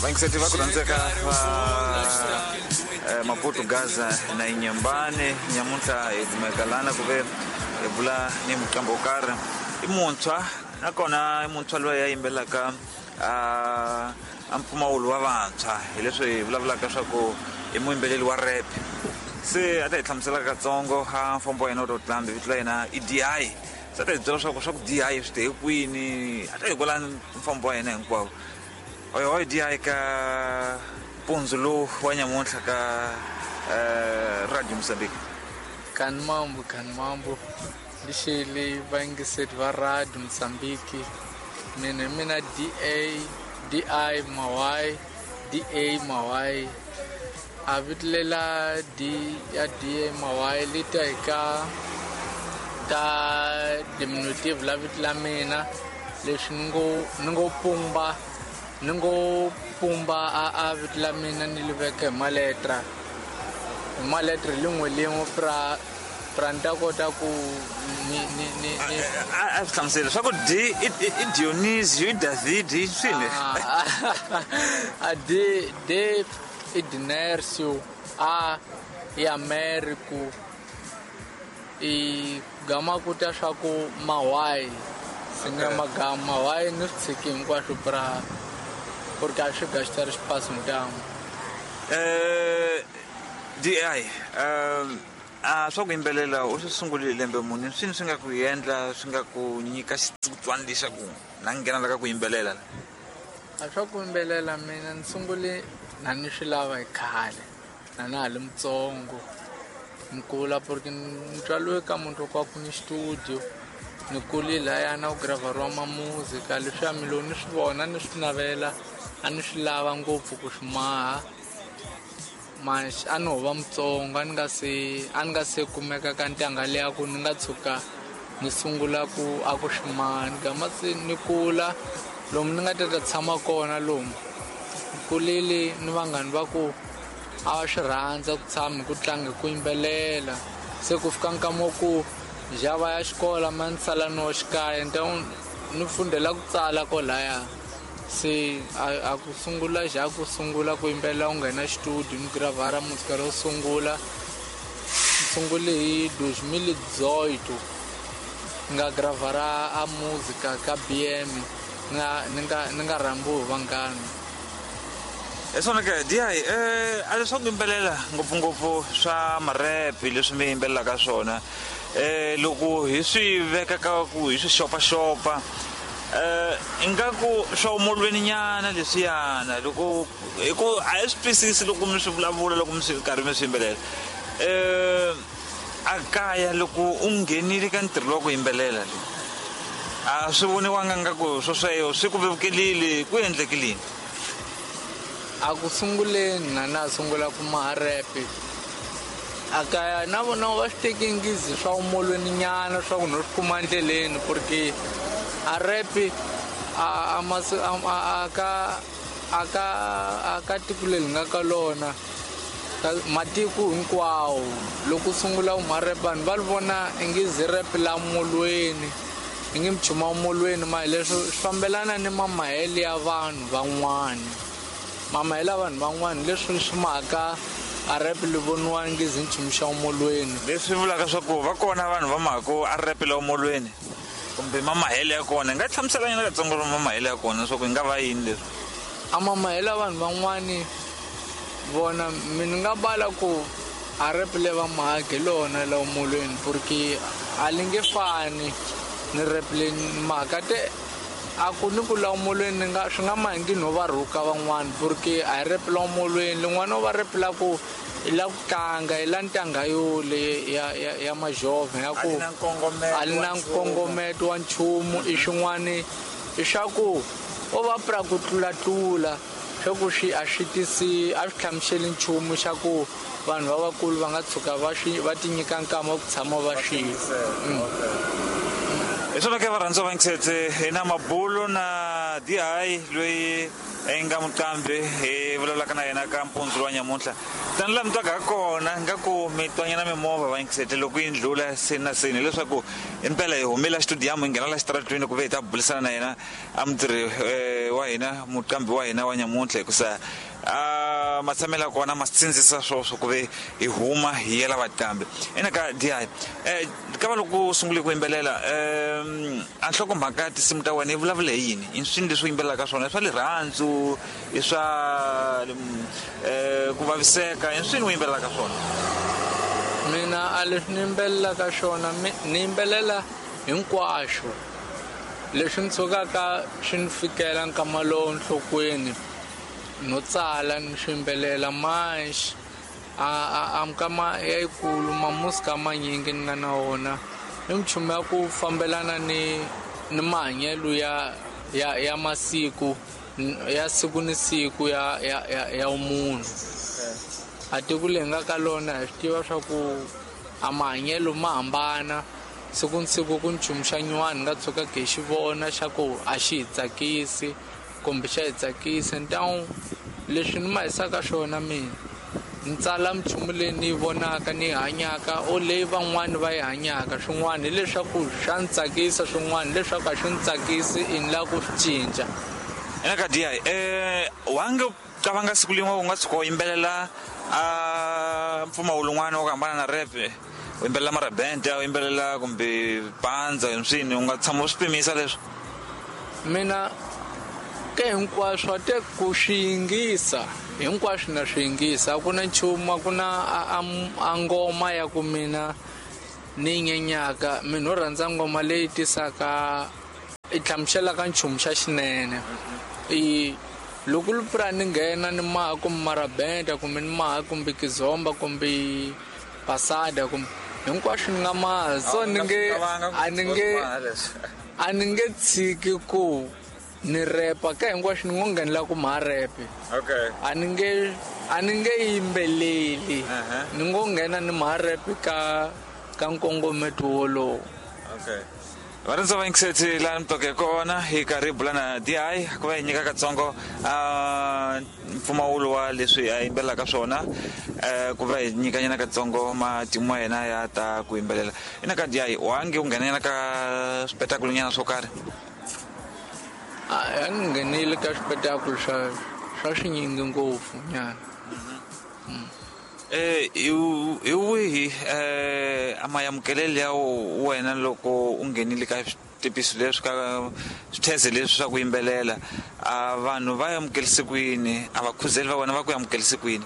Vayingiseti va ku rhandzeka va Maputo, Gaza na Inyambane, nyamuntlha hi kumeka lana ku ve hi bula ni muqambi wo karhi, i muntshwa, nakona i muntshwa loyi a yimbelelaka a mpfumawulo wa vantshwa, hi leswi hi vulavulaka swa ku i muyimbeleli wa rap. Se a ta hi hlamusela katsongo a mfambo wa yena wa totlambi. Vito la yena i DI. Se a ta hi byela swa ku DI swi te hi kwini, a ta hi kwala mfambo wa yena hinkwawo. Oyo DI ka mpundzu lowu wa nyamuntlha ka Radio Mozambique. Kani mambo, kani mambo, lixeli vayingiseri va Radio Mozambique. Mina hi mina da di Mawai, da Mawai. A vito lela d ya da Mawai li ta hi ka ta diminutive la vito la mina, leswi ni ngo pumba, ni ngo pumba a vito la mina, ni li veka hi maletra lin'we lin'we pra ni ta kota ku ni A swi hlamuseli swa ku D i Dionisio, i David, i swini? A D, D i Dinercio, A i Americo, i gama ku ta swa ku Mawai singa magama Mawai, ni swi tshiki hinkwaswo pra porque a swi gastar espaço ntamu. DI, a swa ku yimbelela u swi sungulile lembe muni? Swini swi nga ku endla, swi nga ku nyika xitsongwatsongwana lexaku na nghena la ka ku yimbelela? A swa ku yimbelela mina ni sungule na ni swi lava hi khale, na na ha li mutsongo, ni kula, porque ni tswaliwe ka muti wa ku ni studio, ni kule lahaya na ku graveriwa mamuzika. Leswiya mi lo ni swi vona, ni swi navela, a ni swi lava ngopfu ku swi maha, mas a ni ho va mutsongo, a ni nga se kumeka ka ntangha leya ku ni nga tshuka ni sungula ku a ku swi maha. Ni gama se ni kula lomu ni nga ta tshama kona, lomu ni kulile ni vanghani va ku a va swi rhandza ku tshama hi ku tlanga, hi ku yimbelela. Se ku fika nkama wa ku xava ya xikola ma ni sala no xikaya, ni ta ni fundela ku tsala kolaya. Se a ku sungula xa ku sungula ku yimbelela, u nghena studio, ni gravara muzika ro sungula. Ni sungule hi 2018, ni nga gravara a muzika ka BM, ni nga rhambiwi hi vanghana. Hi swona ke, DI, a leswaku yimbelela ngopfungopfu swa marepi leswi mi yimbelelaka swona, loko hi swi veka ka ku hi swi xopaxopa, ingaku swa umolweni nyana leswiyana, loko hi ku a hi swi twisisi loko mi swi vulavula, loko mi swi karhi mi swi yimbelela. A kaya loko u nghenile ka ntirho wa ku yimbelela leyi, a swi voniwanga nga ku swo sweswo swi ku vevukelile? Ku endlekilini? A ku sunguleni na na sungula ku maha repe, a kaya na vona va swi teki ngizi swa umolweni nyana, swa ku no swi kuma endleleni, porque a repe a masi a ka a ka a ka tiko leri nga ka lona, ka matiko hinkwawo, loko u sungula u ma rap, vanhu va li vona ingizi rap la molweni, ingi mchuma molweni. Ma hi leswi swi fambelana ni mamahele ya vanhu van'wani, mamahele ya vanhu van'wani, leswi swi maka a rap li voniwa ngizi nchumu xa molweni. Leswi vulaka swa ku va kona vanhu va mhako a rap la molweni, kumbe mamahele ya kona, hi nga hlamusela nyana katsongo mamahele ya kona swa ku hi nga va yini leswi? A mamahele ya vanhu van'wani vona, mi ni nga bala ku a rap le va mahage lona la molweni, porque a li nge fani ni rap le mhaka te a ku ni ku la molweni, ni nga swi nga mahingi no va rhuka van'wani, porque a hi rap la molweni lin'wana va rap la ku i la ku tlanga, i la ntangha yo le ya majovha ya ku A li na nkongometo a li na wa nchumu. Nkongometo wa nchumu, i xin'wani i swa ku o va pra ku tlulatlula, swa ku swi a swi tisi, a swi hlamuseli nchumu xa ku vanhu va vakulu va nga tshuka va swi va ti nyika nkama wa ku tshama va swi. Hi swona ke, varhandziwa va yingisetse, hi na mabulo na na di loyi i nga muqambi hi vulavulaka na yena ka mpundzu wa nyamuntlha. Tani laha mi twaka kona nga ku mi twanyana mimovha va yingisete loko yi ndlula seni na seni, hileswaku impela hi humile xitudiyamu hi nghena la xitaratwini ku ve hi ta burisana na yena a mutirhi wa hina, muqambi wa hina wa nyamuntlha, hikusa a matshamelo ya kona ma sindzisa swoswo ku ve hi huma hi yela vaqambi. Ina ka di ka va loko u sungule ku yimbelela, a nhlokomhaka ya tinsimu ta wena yi vulavula hi yini? I swini leswi u yimbelelaka swona? I swa rirhandzu, i swa ku vaviseka, i swini u yimbelelaka swona? Mina a leswi ni yimbelelaka swona, ni yimbelela hinkwaswo leswi ni tshukaka swi ni fikela nkama lowu nhlokweni, no tsala ni swi yimbelela. Manxe a mikama ya yikulu mamusika manyingi ni nga na wona i minchumu ya ku fambelana ni mahanyelo ya masiku ya siku ni siku ya munhu. A tiko leyi nga ka lona hi swi tiva swa ku a mahanyelo ma hambana siku ni siku, ku nchumu xa nyuwani nga tshuka hi xi vona xa ku a xi hi tsakisi kumbe xa hi tsakisa. Ntawu leswi ni ma hisaka swona, mina ni tsala minchumu leyi ni yi vonaka ni yi hanyaka o leyi van'wani va yi hanyaka. Swin'wana hileswaku swa ni tsakisa, swin'wana hileswaku a swi ni tsakisi, i ni lava ku swi cinca. Ina ka di wa nga qavanga siku lin'we u nga tshuka u yimbelela a mpfumawulo wun'wana wa ku hambana na rap, u yimbelela marabente, u yimbelela kumbe pandza, hi swini u nga tshama u swi pimisa leswi? Mina ke hinkwaswo a te ku swi yingisa hinkwaswo na swi yingisa, a ku na nchumu, a ku na a ngoma ya ku mina ni nyenyaka. Mina ho rhandza ngoma leyi tisaka i hlamuselaka nchumu xa xinene. I loko lupura ni nghena ni maha kumbe marabenta kumbe ni maha kumbe kizomba kumbe pasada kumbe hinkwaswo ni nga maha, so ni nge a ni nge tshiki ku ni repa ka hinkwaswo, ni ngo nghenela ku maha repe. Okay. A ni nge yimbeleli, ni ngo nghena ni maha repe ka nkongometo wolowo. Okay. Varhandza va yingiseti laha mi twaka hi kona hi karhi hi bula na di ku va hi nyika katsongo a mpfumawulo wa leswi a yimbelelaka swona, ku va hi nyikanyana katsongo matimu ya yena ya ta ku yimbelela. Ina ka di wa nge u nghenanyana ka swipetakulo nyana swo karhi? A ni nghenile ka swipetakulo swa swinyingi ngopfu nyana. Hi wihi a mayamukelelo ya wena loko u nghenile ka switepiso leswi, ka switheze leswi swa ku yimbelela? A vanhu va amukelise ku yini? A vakhuzeli va wena va ku amukelise ku yini?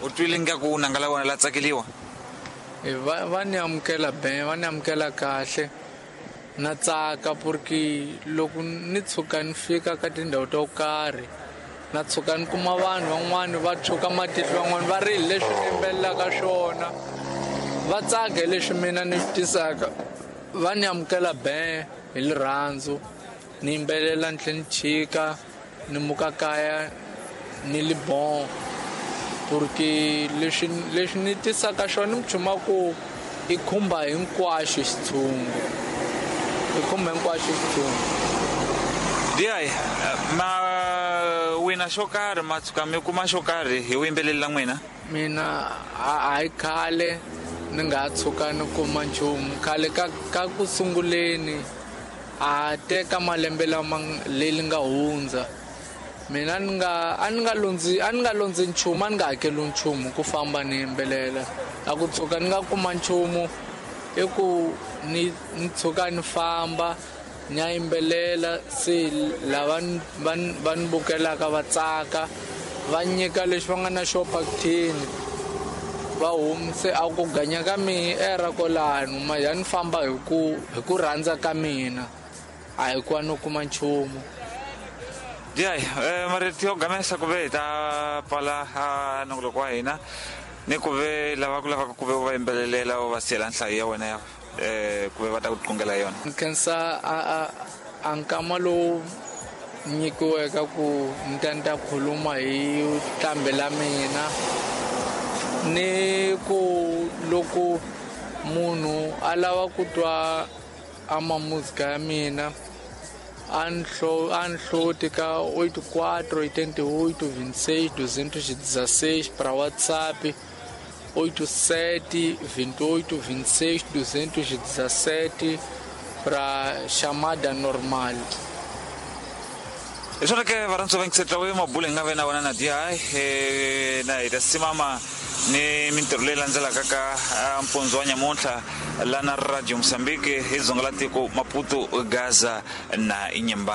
U twile nga ku nanga la wena la tsakeliwa? Va ni amukela ben, va ni amukela kahle. Na tsaka porque loko ni tshuka ni fika ka tindhawu to karhi, na tshuka ni kuma vanhu van'wani va tshuka matihlo, van'wani va ri leswi ni yimbelelaka swona, va tsaka hi leswi mina ni swi tisaka, va ni amukela ben hi rirhandzu. Ni yimbelela ni tlhela ni chika ni muka kaya ni li bon, porque leswi ni tisaka swona ni minchumu ku i khumba hinkwaxo xitshungu, i khumba hinkwaxo xitshungu. Di ma wina xo karhi, ma tshuka mi kuma xo karhi hi vuyimbeleri la n'wina? Mina a hi khale ni nga tshuka ni kuma nchumu. Khale ka ku sunguleni a teka malembe lama leri nga hundza, mina ni nga a ni nga londzi nchumu, a ni nga hakeli nchumu ku famba ni yimbelela. A ku tshuka ni nga kuma nchumu i ku ni tshuka ni famba ni ya yimbelela, se lava va ni bukelaka va tsaka, va nyika leswi va nga na xo pakithini, va humise a ku ganya ka mina era kwalano. Ma ya ni famba hi ku rhandza ka mina, a hi ku a no kuma nchumu. Di marito yo gamesa ku ve hi ta pfala a nongoloko wa hina, ni ku ve lava ku lavaka ku ve u va yimbelelela u va siyela nhlayo ya wena ya ku ve va ta ku qungela yona. Ni khensa a nkama lowu nyikiweke ku ni ta ni ta khuluma hi nqambi la mina, ni ku loko munhu a lava ku twa a mamuzika ya mina A ni hloti ka 84 88 26 216 para WhatsApp 87 28 26 217 para chamada normal. Hi swona ke varhandzi va yingisetla we mabulu hi nga ve na wona na di na hi ta simama ni mintirho leyi landzelaka ka mpundzu wa nyamuntlha lana Radio Mozambique hi dzonga la tiko Maputo, Gaza na Inhambane.